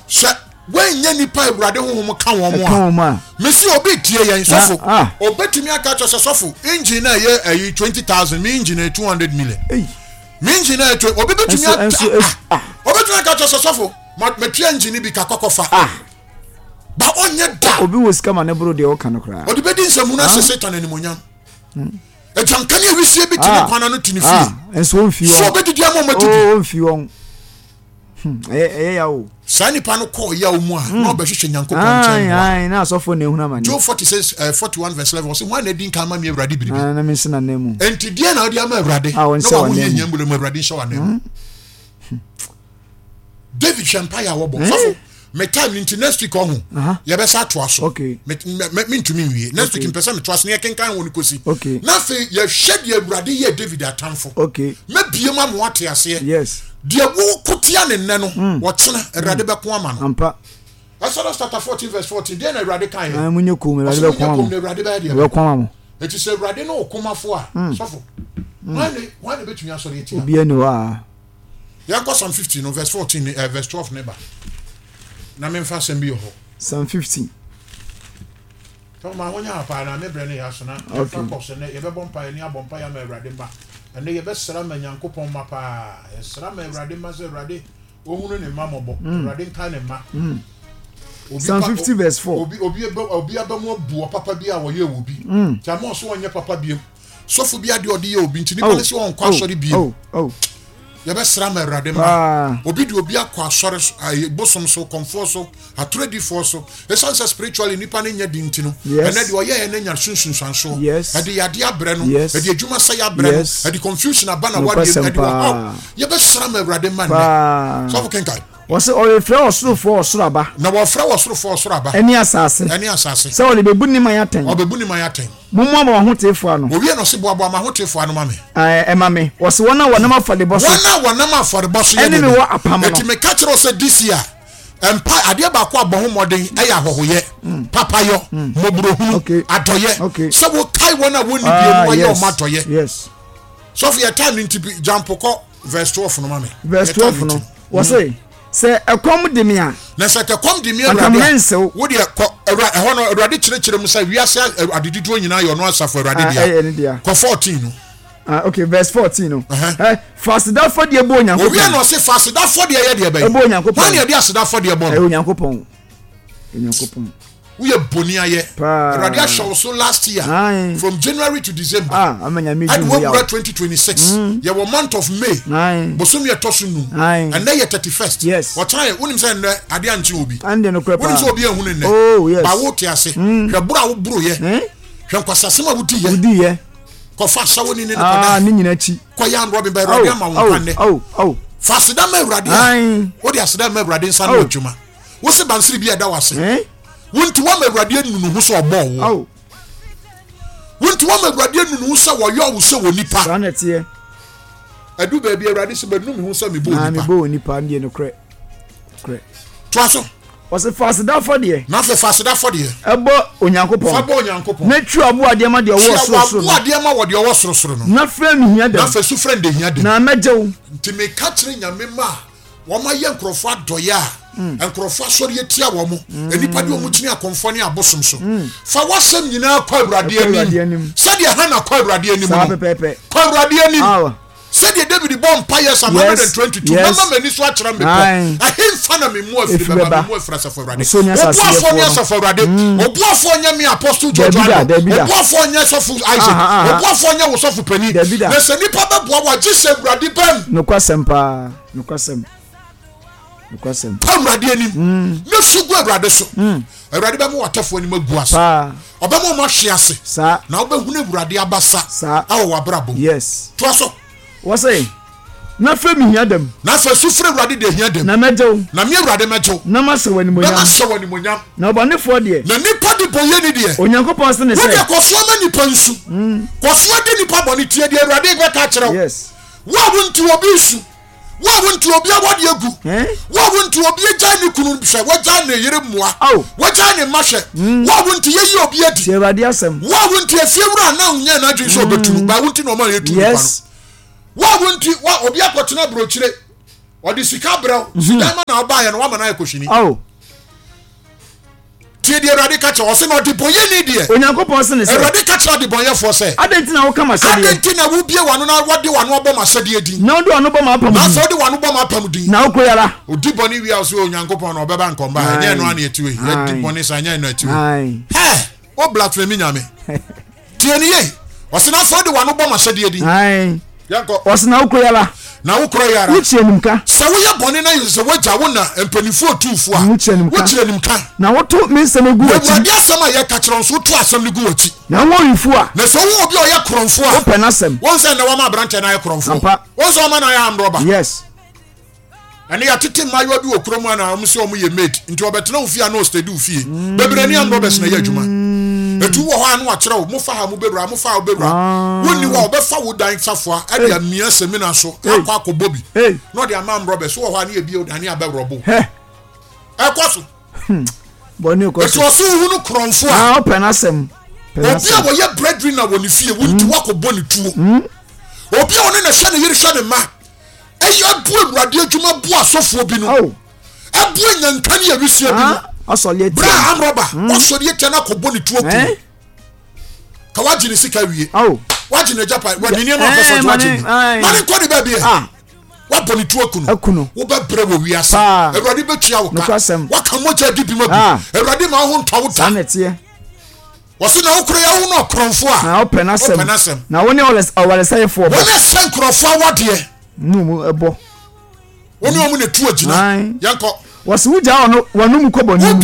Sɛ wɔnyɛ nipa Awurade honhom ka wɔn a, mesi obi tie yɛn sɔfo, obetumi aka kyerɛ sɛ sɔfo engine na ɛyɛ ɛyi 20,000, me engine yɛ 200 million. Me engine na ɛyɛ obi betumi aka, obetumi aka kyerɛ sɛ sɔfo matua engine bi ka kɔkɔ fa. Ba ɔnyɛ da. Obi wɔ sika ma ne boro deɛ ɔka no koraa. Ɔde bɛdi nsɛmunu ahyɛ Satan animonyam. Agyanka ne awisie bi te ne kwan ano te ne fie. Nso ɔmfi wɔn. So ɔbɛdidi ama ɔma didi. Ɔmfi wɔn. Ɛyɛ ɛyɛ yaw o. Saa nipa no kɔɔ yaw mu a na ɔbɛhwehwɛ Nyankopɔn nkyɛn mmoa. Na asɔfoɔ na ehunu amane. Job 46 41 verse 11 ɔsɛ hwan na adi nkan ama me Awurade biribi. Na me nso n'anan mu. Enti deɛ na ɔde ama Awurade. Na wɔn hia mu Awurade nhyɛ wɔn anan mu. David hwɛ mpaeɛ a wɔbɔ. Sɔfo me time nti next week ɔho yɛbɛsa atoa so. Mentumi nwie next week mpɛ sɛ metoa so na yɛkenkan wɔ no kɔsi. Na afei yɛhwɛ deɛ Awurade yɛ David atamfo. Mɛbie mu ama wate aseɛ. Deɛ woko tia ne nnɛ no wɔkyena Awurade bɛko ama no. Exodus chapter 14 verse 14 deɛ na Awurade kan yɛ. Munyɛ kom Awurade bɛko ama mo. Awurade bɛyɛ deɛ. Bɛko ama mo. Eti sɛ Awurade ne ɔkomafo a sɔfo hwan ne hwan ne bɛtumi asɔre atia. Obiara ni hɔ a. Yɛnkɔ Psalm 50 no verse 14 ne eh, verse 12 ne ba. Na memfa asɛm bi wɔ hɔ. Psalm 50. Tɔ ma wonya ha paa na me brɛ no yɛ aso na yɛmfa kɔ sɛ nɛ yɛbɛbɔ mpaeɛ ne abɔ mpaeɛ ama Awurade mma. Ɛnɛ yɛbɛsra ma Nyankopɔn mma paa. Yɛsra ma Awurade mma sɛ Awurade ɔhunu ne mma mmɔbɔ. Awurade nkae ne mma. Obi Psalm 50 verse 4. Obi obi obi aba mu abu ɔpapa bi a wɔyɛ wɔ bi. Nti ama ɔso ɔnyɛ papa biem. Sɔfo bi adeɛ ɔde yɛ obi nti nipa no sɛ ɔnkɔ asɔre biem. Yɛbɛsra ma Awurade ma. Obi de obi akɔ asɔre bosom so, kɔmfoɔ so, atorodifoɔ so. Ɛsiane sɛ spiritually nipa no nyɛ den nti no, ɛnɛ deɛ ɔyɛɛ no anya so nsunsuansoɔ. Ɛde yadeɛ abrɛ no, ɛde adwuma sɛe abrɛ no, ɛde confusion aba na wadeɛ mu, ɛde ɔhaw. Yɛbɛsra ma Awurade ma nnɛ. Sɔfo kenkan. Wɔse ɔrefrɛ ɔsorofoɔ ɔsoro aba. Na wɔfrɛ ɔsorofoɔ ɔsoro aba. Ɛne asase. Ɛne asase. Sɛ ɔde bɛbu ne man atɛn. Ɔbɛbu ne man atɛn. Mommoaboa m'ahoteefoɔ ano. Wɔwie no, ɔse, Boaboa m'ahoteefoɔ ano ma me. Ɛɛ, ma me. Wɔse, Wɔn a wɔnam afɔrebɔ so. Wɔn a wɔnam afɔrebɔ so yɛ Ɛne me wɔ apam no. Enti meka kyerɛ wo sɛ, this year, mpa, adeɛ baako a bɔ ho mmɔden yɛ ahɔhoyɛ, papayɔ, mmɔborɔhunu, adɔyɛ, sɛ wokae wɔn a wɔnni bie no woayɛ wɔn adɔyɛ. Yes. Sɔfo, yɛ time no nti, jump kɔ verse 12 no ma me. Verse 12 no, wɔse. Sɛ ɛkɔm de me a. Na sɛ ɛkɔm de me Awurade a. Anka wo deɛ kɔ Awurade ɛhɔ no Awurade kyerɛkyerɛ mu sɛ wiase adedodoɔ nyinaa yɛ ɔno asafo Awurade dea. Ɛyɛ ne dea. Kɔ 14 no. Ah, okay, verse 14 no. Eh, fa aseda afɔdeɛ bɔ Onyankopɔn. Owie na ɔse fa aseda afɔdeɛ yɛ deɛ bɛyɛ. Ɛbɔ Onyankopɔn. Hwan na yɛde aseda afɔdeɛ bɔ no? Ɛyɛ Onyankopɔn. Onyankopɔn. Woyɛ boni ayɛ. Awurade ahyɛ wo so last year. Aye. From January to December. Ah, ama nyame di ho yaw. Ɛde 2026. Yɛwɔ month of May. Aye. Bosomi ɛtɔ so num. Aye. Ɛnɛ yɛ 31st. Yes. Ɔkyena yɛ wonim sɛ ɛnɛ adeɛ ankye obi. Ɛnde no korɛ paa. Wonim sɛ obi ehunu nnɛ. Oh yes. Ba wo te ase. Hwɛ boro a wo boro yɛ. Eh? Hwɛ nkwasasɛm a wodi yɛ. Wodi yɛ. Kɔfa asawo ni ne ne kɔda. Ah, ne nyina akyi. Kɔyɛ anrɔbi ba Awurade ama wo nkwa nnɛ. Oh, oh. Fa aseda ma Awurade a. Wode aseda ma Awurade nsa no adwuma. Wo se bansere bi a ɛda w'ase. Eh? Wo nti woama Awurade anu ne ho sɛ ɔbɔɔ wo. Wo nti woama Awurade anu ne ho sɛ wɔyɔɔ wo sɛ wɔ nipa. Saa na ɛteɛ. Ɛdu baabi Awurade sɛ manu me ho sɛ mebɔɔ nipa. Na mebɔɔ nipa deɛ nokorɛ. Nokorɛ. Toa so. Ɔse fa aseda afɔdeɛ. Na afei fa aseda afɔdeɛ. Ɛbɔ Onyankopɔn. Fa bɔ Onyankopɔn. Na tua aboadeɛ ma deɛ ɔwɔ sorosoro no. Tua w'aboadeɛ ma wɔ deɛ ɔwɔ sorosoro no. Na frɛ me hia dam. Na afei su frɛ no deɛ hia dam. Na mɛgye wo. Nti meka kyerɛ Nyame mma a Wɔayɛ nkurɔfoɔ adɔeɛ a nkurɔfoɔ asɔre atia wɔn. Nnipa de wɔn kyini akɔmfoɔ ne abosom so. Fa w'asɛm nyinaa kɔ Awurade anim. Sɛdeɛ Hana kɔ Awurade anim no, kɔ Awurade anim. Sɛdeɛ David bɔ mpaeɛ Psalm 122, mɛma m'ani so akyerɛ mmepɔ. Ɛhefa na me mmoa firi bɛba? Me mmoa firi Asafo Awurade. Ɔboafoɔ ne Asafo Awurade. Ɔboafoɔ nyɛ me Apostle George Addo. Ɔboafoɔ nyɛ Sɔfo Isaac. Ɔboafoɔ nyɛ wo sɔfo panin. Na sɛ nnipa bɛboa wo a, gye sɛ Awurade bam. Nokwasɛm paa. Nokwasɛm. Nokwasɛm. Kɔ Awurade anim. Na su gu Awurade so. Awurade bɛma w'atɛfoɔ anim agu ase. Paa. Ɔbɛma wɔn ahwe ase. Saa. Na wobɛhunu Awurade abasa. Saa. Ɛwɔ w'abrabɔ mu. Yes. Toa so. Wɔse, Na frɛ me hia dam. Na afei su frɛ Awurade deɛ hia dam. Na mɛgye wo. Na me Awurade mɛgye wo. Na mahyɛ wo animuonyam. Na mahyɛ wo animuonyam. Na ɔbɔnefoɔ deɛ. Na nipa debɔneyɛni deɛ. Onyankopɔn se ne sɛ. Wo deɛ kɔ so ma nipa nsu. Kɔ so di nipa bɔne tie deɛ Awurade bɛka akyerɛ wo. Yes. Wo a wonti obi nsu, wo a wonti obi awɔde agu, wo a wonti obi agyae ne kunu hwɛ, wagyae ne yere mmoa, wagyae ne mma hwɛ, wo a wonti yɛyi obi adi, Tie Awurade asɛm. wo a wonti efiewura a na onyɛ n'adwene sɛ ɔbɛtu no, baa wonti na ɔma yɛtu nipa no, wo a wonti wa obi akɔtena aburokyire. Ɔde sika brɛ wo. Sidan ma na ɔbaeɛ no wama no ayɛ kɔhwini. Oh. Tie deɛ Awurade ka kyerɛ ɔse na ɔdebɔnyɛni deɛ. Onyankopɔn se ne sɛ. Awurade ka kyerɛ adebɔnyɛfoɔ sɛ. Adɛn nti na woka m'ahyɛdeɛ? Adɛn nti na wobue w'ano na wɔde w'ano abɔ m'ahyɛdeɛ din? Na wode w'ano bɔ m'apam din. Na afei wode w'ano bɔ m'apam din. Na wokɔ yi ara. Odi bɔne wie a ɔse Onyankopɔn na ɔbɛba nkɔmba a ɛnyɛ ɛno ara na ɛte wei. Yɛdi bɔne saa ɛnyɛ ɛno na ɛte wei. Hɛ! Wo blasphemy Nyame. Tie no yie. Ɔse na afei wode w'ano bɔ m'ahyɛdeɛ din. Yɛnkɔ. Ɔse na wokɔ yi ara. Na wokɔ yi ara. Wokyiri animka. Sɛ woyɛ bɔne na yɛ sɛ w'agya wo na mpanimfoɔ otumfoɔ a. Wokyiri animka. Wokyiri animka. Na woto me nsɛm gu w'akyi. Na Awurade asɛm a yɛka kyerɛ wo nso woto asɛm no gu w'akyi. Na wohu owifoɔ a. Na sɛ wohu obi a ɔyɛ korɔmfoɔ a. Wopɛ n'asɛm. Wohu sɛ nnɛ wɔama aberanteɛ no ayɛ korɔmfoɔ. Ampa. Wohu sɛ wɔama no ayɛ armed robber. Yes. Ɛnɛ yɛatete mmaayewa bi wɔ kurom a na wɔn sɛ wɔn yɛ maid nti wɔbɛtena wo fie a na ɔstedi wo fie. Bebree ne armed robbers na ɛyɛ adwuma. Etu wɔ hɔ a na wakyerɛ wo mofa ha mobɛwura mofa ha wobɛwura. Ah. Wonni hɔ a wɔbɛfa wo dan safoa ɛde amia semina so akɔ akɔbɔ bi na ɔde ama armed robbers wɔ hɔ a ne yɛbie wo dan ne abɛworɔbo. Ɛkɔ so. Hmm. Bɔne kɔ so. Eti ɔso wohu no korɔmfo a. Ah, ɔpɛ n'asɛm. Obi a wɔyɛ breadwinner wɔ ne fie wo nti hmm. wakɔbɔ ne tuo. Hmm. Obi a ɔne na hwɛ ne yere hwɛ ne mma. Eyi abu awurade adwuma bu asɔfoɔ bi no. Oh. Abu anyanka ne awisia bi no. Ah, ɔsɔre atia. Bra amrɔba, hmm. ɔsɔre atia na akɔbɔ ne tuo kum. Eh? Ka wagye ne sika wie. Oh. Wagye ne japa, wɔ ne nneɛma ɔpɛ sɛ ɔgye wagye bi. Ma ne nkɔ ne baabi ɛ. Ah. Wabɔ ne tuo kunu. Wobɛbrɛ wɔ wiase. Awurade bɛtua wo ka. Waka mogya adi bi ma bi. Ah. Awurade ma wo ho ntɔ wo da. Wɔse na wokora yɛ wo no ɔkorɔmfoɔ a. Na wopɛ n'asɛm. Wopɛ n'asɛm. Na wo ne ɔwaresɛefoɔ bɔ. Wo ne sɛ nkurɔfoɔ awadeɛ. Ne wɔn bɔ. Wo ne wɔn na tu agyina. Yɛnkɔ. Wɔse wogyaa wɔn wɔn mu kɔ bɔne mu. Wobie